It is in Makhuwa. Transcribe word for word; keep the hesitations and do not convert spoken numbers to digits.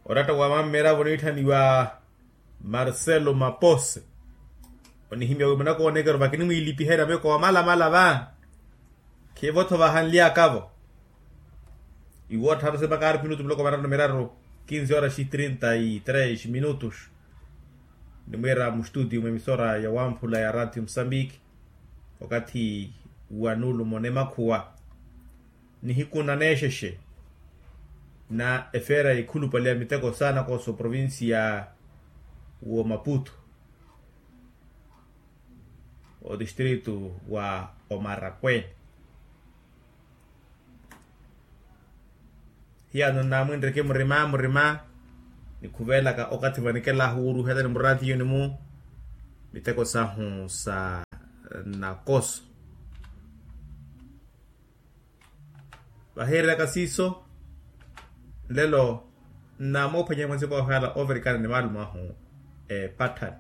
Oratta wa mammeravo niitthaniwa marcelo mapose, onihimya wi munakoonekero vakinimwiilipiherya meko wa malamala va. Khivo-tho vahanly'akavo. Iwo ottharu sepakari minutu muloko mararu na miraru. Kinsi oraxi trinta y tres minutus. Nimwiira mustutiyu mwemisora ya wamphula ya ratio musambiki, okathi wa nuulumo nemakhuwa nihiku na neexexe na efeera yikhulupale ya miteko saana koosa oprovincia wo maputo, otistritu wa omarakweni. Hiyano nnamwinreke murima murima nikhuvelaka okathi vanikelahu wuruhela ni murathiyoni mu miteko sahu sa nakoso. Vahiirelaka siiso nlelo nnamuphwanya mwanziko wahu yala overikana ni maalumo ahu epatthani.